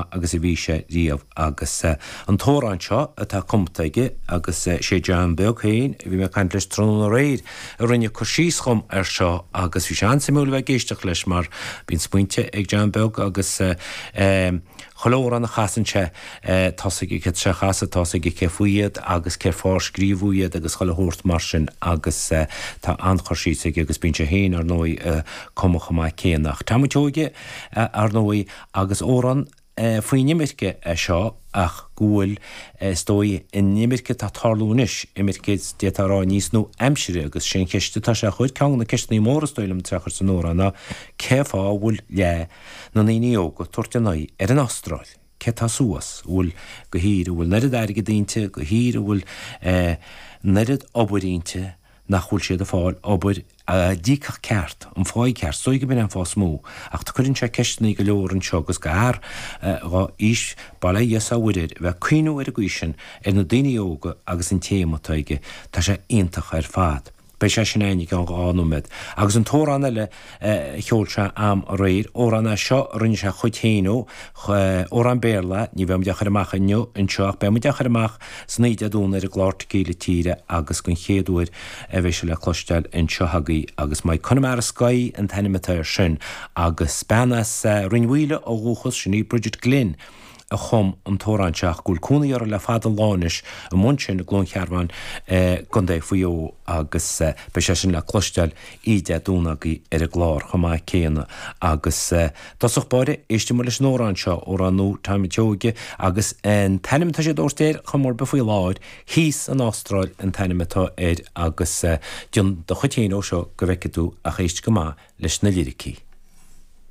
maith agus a bhí sé riamh agus an t-amhrán seo atá cumta aige agus sé John Beag féin a bhí mé ag caint leis tráthnóna aréir a rinne cur síos dhom air seo agus bhí sé an-suimiúil a bheith ag éisteacht leis mar bíonn smaointe ag John Beag agus chuile amhrán a chasann sé tá 's aige céard tá sé a chasadh, tá 's aige cé faoi iad agus cén fáth ar scríobhadh iad agus chuile shórt mar sin agus tá an-chur síos aige agus bíonn sé féin ar ndóigh ag cumadh chomh maith céanna. Ach Tommy Tseoige ar ndóigh agus amhrán faoin imirce é seo ach go bhfuil, is dóigh, an imirce atá ag tarlú anois, imirce d'fhéadfá a rá níos nua-aimsire agus sé an cheist atá sé a chur, ceann de na ceisteanna móra is dóigh liom atá sé a chur san amhrán ná cé fáth a bhfuil leath na ndaoine óga ag tabhairt a n-aghaidh ar an Astráil? Cé tá suas? An bhfuil go thír a bhfuil an oiread airgid inti, go thír a bhfuil an oiread obair inti, nach bhfuil siad ag fáil obair a d'íocfadh ceart, an pháigh ceart. Is dóigh go b'in an fáth is mó. Ach cuireann sé ceisteanna go leor anseo agus do fhear dhá aois, bail ó Dhia 's ó Mhuire air, a bheith ag cuimhniú ar an gcaoi sin ar na daoine óga agus an téama atá aige, tá sé iontach ar fad. Beidh sé sin againn i gceann 2 nóiméad. Agus an t-amhrán eile a cheol sé a'm aréir, amhrán é seo a rinne sé a chuid féin ó, amhrán Béarla, ní bheidh muid á chur amach inniu anseo ach beidh muid á chur amach san oíche Dé Domhnaigh ar an gclár Tequila Tíre agus den chéad uair a bheidh sé le cloisteáil anseo agaibh agus My Connemara Sky an t-ainm atá air sin agus bean as Rinn Mhaoile ó dhúchas, sin í Bridget Glynn, a chum an t-amhrán seo ach go bhfuil cónaí uirthi le fada an lá anois amuigh ansin i gCluain Chearbháin i gContae Mhaigh Eo agus beidh sé sin le cloisteáil oíche Dé Domhnaigh agaibh ar an gclár chomh maith céanna agus dtosach báire éistfidh muid leis an amhrán seo, amhrán nua Tommy Tseoige agus an t-ainm atá sé ag tabhairt air chuma ar bith faoi láthair, Thíos san Astráil an t-ainm atá air agus déan do chuid féin ó seo go bhfeicfidh tú ach éist go maith leis na liricí.